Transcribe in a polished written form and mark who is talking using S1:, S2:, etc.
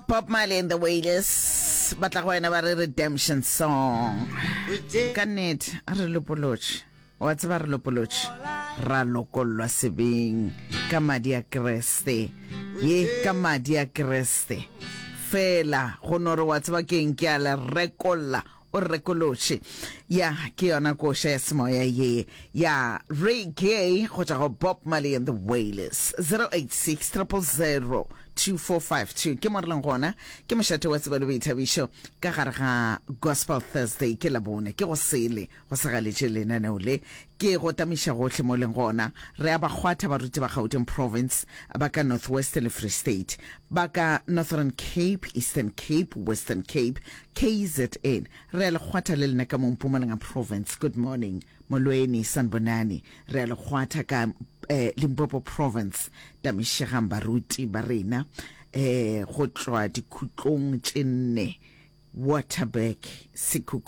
S1: Bob Marley and the Wailers ba tla go wena ba re redemption song. Ka nnete a re lopolotše, wa tseba re lopolotše, ra lokollwa sebeng ka madi a Kriste, ye ka madi a Kriste fela go no re wa tseba keng ke a le rekolla O re rekolotše. Ya, ke yona koša ya semoya ye ya reggae go tšwa go Bob Marley and the Wailers. 086 000 2452 ke mo re leng gona. Ke mošate wa tsebo le boithabišo ka gare ga Gospel Thursday. Ke Labone, ke go sele, go sa galetše lenaneo le. Ke go tamiša gohle mo leng gona. Re a ba kgwatha baruti ba Gauteng Province, ba ka North West le Free State, ba ka Northern Cape, Eastern Cape, Western Cape, KZN. Re a le kgwatha le lena ka mo Mpumalanga Province. Good morning. Molweni, sanibonani. Re a le kgwatha ka eh, Limpopo Province. Tamišegang baruti ba rena eh, go tšwa dikhutlong tše nne, Waterberg, Sekhukhune.